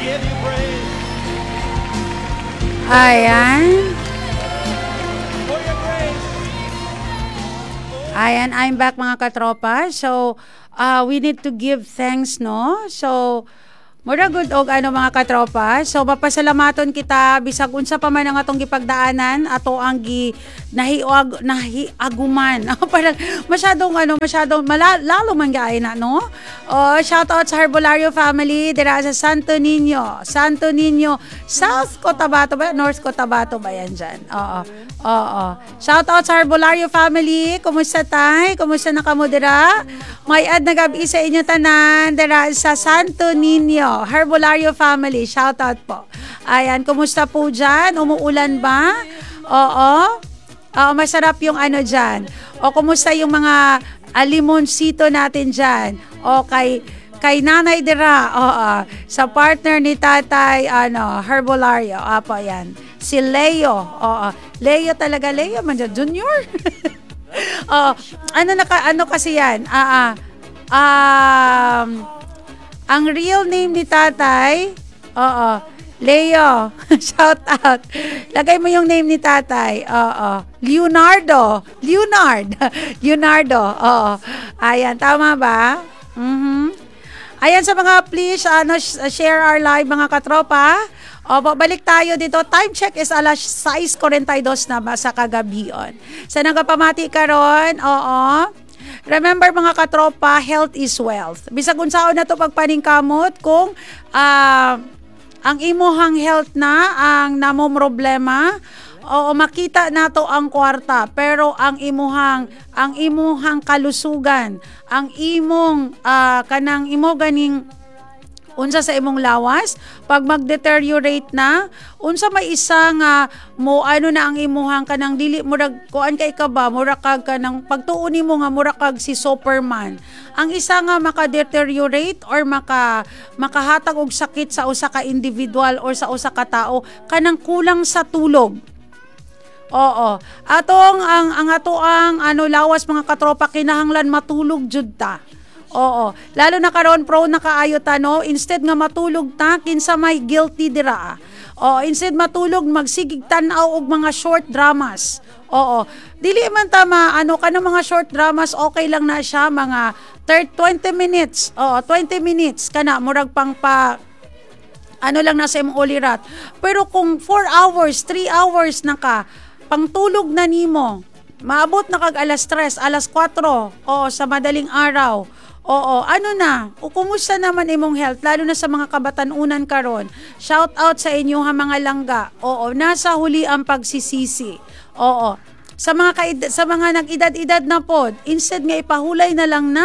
Give you praise Ayan. For your grace. Ayan, I'm back, mga katropa. So, we need to give thanks, no? So, mura gud og ano, mga katropa. So, mapasalamaton kita bisag unsa pa man ang atong gipagdaanan, ato ang gi nahiag nahiaguman. Parang masyadong ano, masyadong lalo man gaay na, no? Oh, shout out sa Herbolario family dira sa Santo Niño. Santo Niño, South Cotabato ba? North Cotabato ba yan dyan? Oo. Oo. Shout out sa Herbolario family. Kumusta, tay? Kumusta na kamo dira? May ad na gabi sa inyo tanan dira sa Santo Niño. Herbolario family. Shout out po. Ayan, kumusta po dyan? Umuulan ba? Oo. Oo, masarap yung ano dyan. O kumusta yung mga limonsito natin dyan? O kay Nanay dira, oo, sa partner ni Tatay ano, Herbolario. Apo yan. Si Leo. Oo. Leo talaga, Leo man dyan, Junior. Oo. Ano naka ano kasi yan? Ah, ah. Ang real name ni Tatay, oo, Leo, shout out. Lagay mo yung name ni Tatay. Oo. Leonardo. Leonard. Leonardo. Oo. Ayan, tama ba? Ayan, sa mga please ano, share our live, mga katropa. Opo, balik tayo dito. Time check is alas 6:42 na ba sa kagabion. Sa nagapamati karon, oo. Remember, mga katropa, health is wealth. Bisag unsaon na to pagpaningkamot, kung ang imuhang health na ang namo problema, oo, makita nato ang kwarta, pero ang imuhang kalusugan, ang imong kanang imo ganing unsa sa imong lawas pag mag-deteriorate na, unsa may isa nga mo ano na ang imuhang kanang dili murag kuan kay ka ba, mura kag kanang pagtuon nimo nga mura kag si Superman. Ang isa nga maka-deteriorate or makahatag og sakit sa usa ka individual or sa usa ka tao, kanang kulang sa tulog. Oo. Atong ang ato ang ano lawas, mga katropa, kinahanglan matulog jud ta. Oo. Lalo na karon, prone na kaayo ta, no. Instead nga matulog ta, kinsa may guilty dira? Oo, instead matulog, magsigig tan-aw og mga short dramas. Oo. Dili man ta ma ano kanang mga short dramas, okay lang na siya mga 30, 20 minutes. Oo, 20 minutes kana murag pang pa ano lang nasa imong ulirat. Pero kung 4 hours, 3 hours na ka, pangtulog na nimo, maabot na kag alas 3, alas 4, oo, sa madaling araw. Oo, ano na, o kumusta naman imong health, lalo na sa mga kabatanunan karon? Shout out sa inyo ha, mga langga. Oo, nasa huli ang pagsisisi. Oo. Sa mga nag-edad-edad na pod, instead nga ipahulay na lang na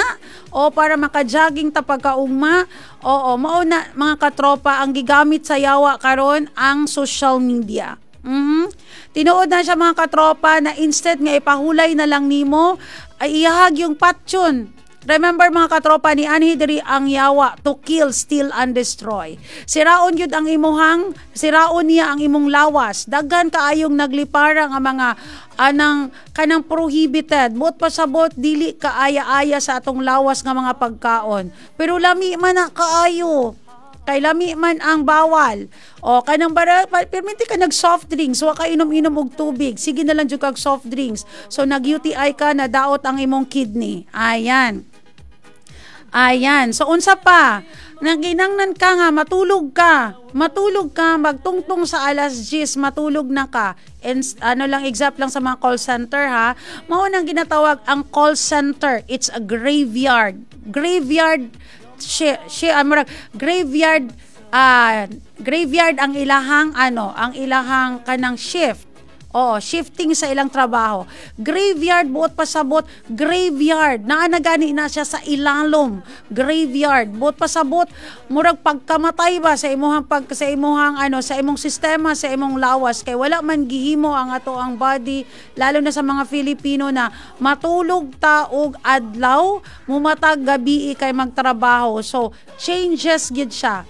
o para maka-jogging ta pagkaugma. Oo, mao na, mga katropa, ang gigamit sa yawa karon ang social media. Tinuod na siya, mga katropa, na instead nga ipahulay na lang nimo ay iyahag yung patyon. Remember, mga katropa, ni anhi diri ang yawa to kill, steal and destroy. Siraon yun ang imuhang, siraon niya ang imong lawas. Daghan kaayong naglipara nga mga anang kanang prohibited. Buot pasabot dili kaaya-aya sa atong lawas nga mga pagkaon. Pero lami man na kaayo. Kay lami man ang bawal. O kanang bara perminti ka nag soft drinks, wa ka inom-inom og tubig. Sige na lang jud kag soft drinks. So nag UTI ka, nadaot ang imong kidney. Ayan. Ayan. So unsa pa? Naginangnan ka nga matulog ka. Matulog ka magtungtong sa alas 10, matulog na ka. And ano lang, exact lang sa mga call center ha. Mao nang ginatawag ang call center. It's a graveyard. Graveyard she, she murag graveyard, graveyard ang ilahang ano, ang ilahang kanang shift. Oo, shifting sa ilang trabaho. Graveyard, buot pasabot, graveyard. Naa na gani na siya sa ilalom. Graveyard, buot pasabot, murag pagkamatay ba sa imuhang ano, sa imong sistema, sa imong lawas, kay wala man gihimo ang ato ang body, lalo na sa mga Filipino na matulog ta og adlaw, mumatag gabi kay magtrabaho. So, changes gid siya.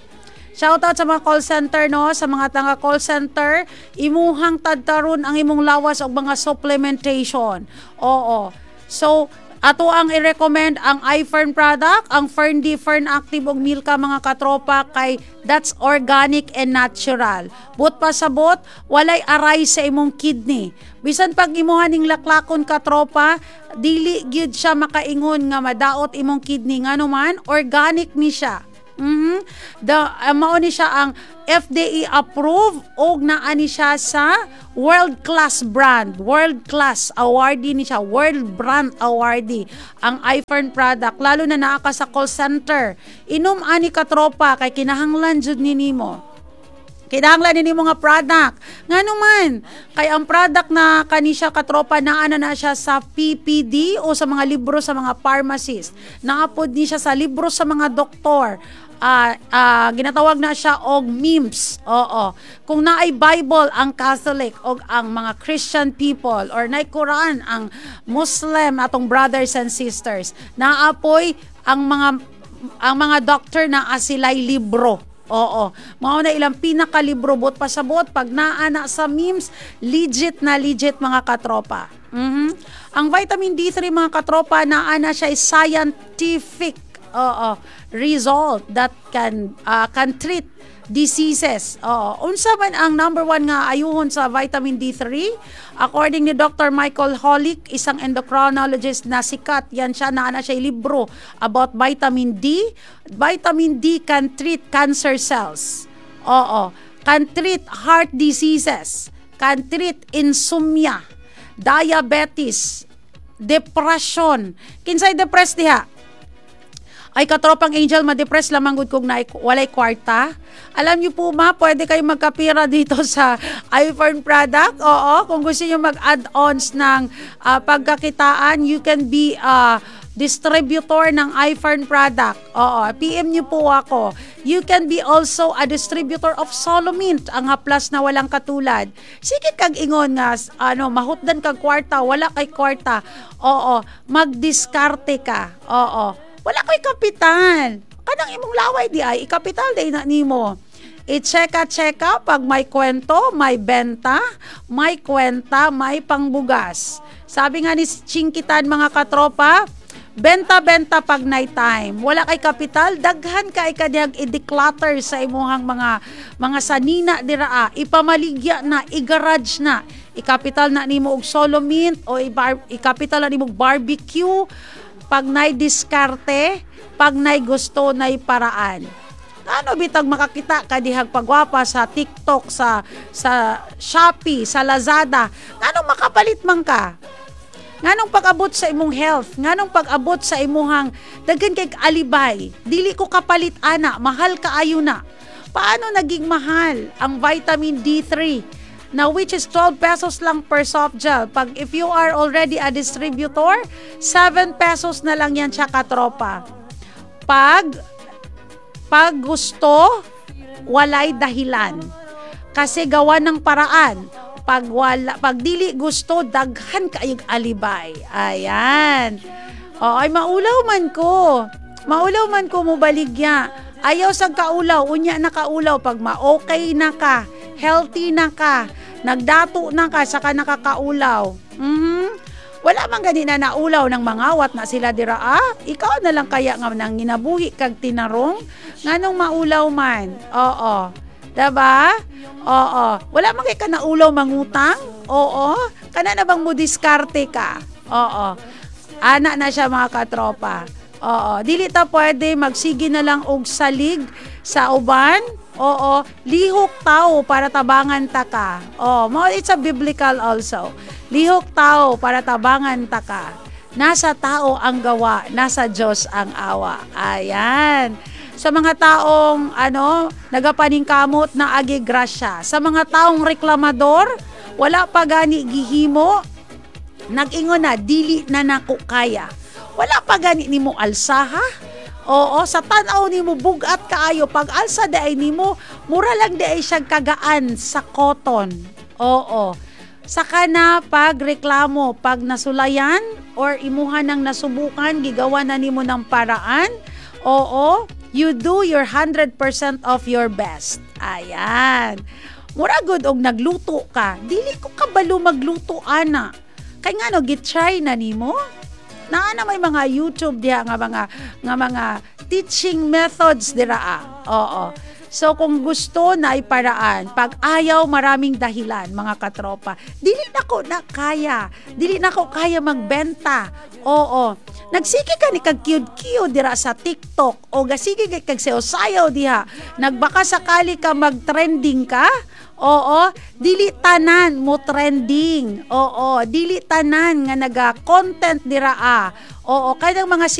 Shout out sa mga call center, no, sa mga tanga call center, imuhang tadtaron ang imong lawas og mga supplementation. Oo. So, Ato ang i-recommend ang iFern product, ang Fern D, Fern Active ug Milka, mga katropa, kay that's organic and natural. Buot pasabot, walay aray sa imong kidney. Bisan pag imuha ning laklakon, katropa, dili gyud siya makaingon nga madaot imong kidney, ngano man organic ni siya. The mao ni siya ang FDA approved og naa ni siya sa world class brand, world class awardee ni siya, world brand awardee ang iFern product. Lalo na naa ka sa call center. Inom ani, katropa, kay kinahanglan jud ni nimo. Kinahanglan ni mga product. Ngano man, kay ang product na kani siya, katropa, naa na na siya sa PPD o sa mga libro sa mga pharmacist. Naapod ni siya sa libro sa mga doktor. Ginatawag na siya og MIMS. Oo. Kung naay Bible ang Catholic o ang mga Christian people or naay Quran ang Muslim, atong brothers and sisters, naapoy ang mga doctor na asilay libro. Oo. Mao na ilang pinakalibro. Buot pasabot, pag naa na sa MIMS, legit na legit, mga katropa. Ang vitamin D3, mga katropa, naa na siya is scientific, oo, result that can treat diseases. Oo. Unsa man ang number one nga ayuhon sa vitamin D3? According ni Dr. Michael Holick, isang endocrinologist na sikat, yan siya, naa na siya libro about vitamin D. Vitamin D can treat cancer cells. Oo. Can treat heart diseases. Can treat insomnia, diabetes, depression. Kinsay depressed diha? Ay, katropang Angel, ma-depress lamang gud kung walay kwarta. Alam niyo po ma, pwede kayo magkapira dito sa iFern product. Oo, kung gusto niyo mag-add-ons ng pagkakitaan, you can be distributor ng iFern product. Oo, PM niyo po ako. You can be also a distributor of Solomint, ang haplas na walang katulad. Sige kag ingon nga ano, mahutdan kag kwarta, wala kay kwarta. Oo, magdiskarte ka. Oo. Wala ko'y kapital. Kanang imong laway di ay ikapital day na nimo. I-checka-checka pag may kwento, may benta, may kwenta, may pangbugas. Sabi nga ni Chinkitan, mga katropa, benta-benta pag night time. Wala kay kapital, daghan kay kadiyag i-declutter sa imuhang mga sanina diraa, ipamaligya na, i-garage na. Ikapital na nimo og solo mint o ikapital na nimo og barbecue. Pag nay diskarte, pag nay gusto, nay paraan. Ano bitag makakita ka dihag pagwapa sa TikTok, sa Shopee, sa Lazada? Nganong makapalit man ka? Nganong pag-abot sa imong health, nganong pag-abot sa imuhang daghan kay alibay, dili ko kapalit ana, mahal kaayo na. Paano naging mahal ang vitamin D3 na which is 12 pesos lang per soft gel? Pag if you are already a distributor, 7 pesos na lang yan siya, katropa. Pag gusto, walay dahilan. Kasi gawa ng paraan. Pag wala, pag dili gusto, daghan kayog alibay. Ayan. O, ay maulaw man ko. Maulaw man ko mo baligya. Ayaw sa kaulaw, unya na kaulaw pag ma-okay na ka, healthy na ka, nagdato na ka, saka nakakaulaw. Wala man gani na naulaw ng mangawat na sila dira ah. Ikaw na lang kaya nga nang ginabuhi kag tinarong, nganong maulaw man. Oo. Diba? Oo. Wala man kay ka naulaw mangutang? Oo. Kana na bang mo diskarte ka? Oo. Ana na siya, mga katropa. Oo. Dili ta pwede magsige na lang og salig sa uban. Oo. Lihok tao para tabangan ta ka. Oo. Mo it's a biblical also. Lihok tao para tabangan ta ka. Nasa tao ang gawa, nasa Diyos ang awa. Ayan. Sa mga taong ano, nagapaningkamot na agi grasya. Sa mga taong reklamador, wala pa gani gihimo, nag-ingon na, "Dili na nako kaya." Wala pa gani nimo alsaha. Oo, sa tan-aw nimo bugat kaayo, pag alsa diay nimo, mura lang diay siya kagaan sa cotton. Oo. Saka na pagreklamo, pag nasulayan or imuha nang nasubukan, gigawa na nimo ng paraan. Oo, you do your 100% of your best. Ayan. Mura gud og nagluto ka. "Dili ko kabalo magluto ana." Kay ngano gitry na nimo? Naa na may mga YouTube diha nga mga teaching methods dira ah. Oo. So kung gusto na paraan, pag ayaw, maraming dahilan, mga katropa. Dili na ko na kaya. Dili na ko kaya magbenta. Oo. Nagsige ka ni kag cute dira sa TikTok o gasige kag sayaw diha. Nagbaka sakali ka mag-trending ka. Oo, dili tanan mo trending. Oo, dili tanan nga naga-content dira ah. Oo, kanang mga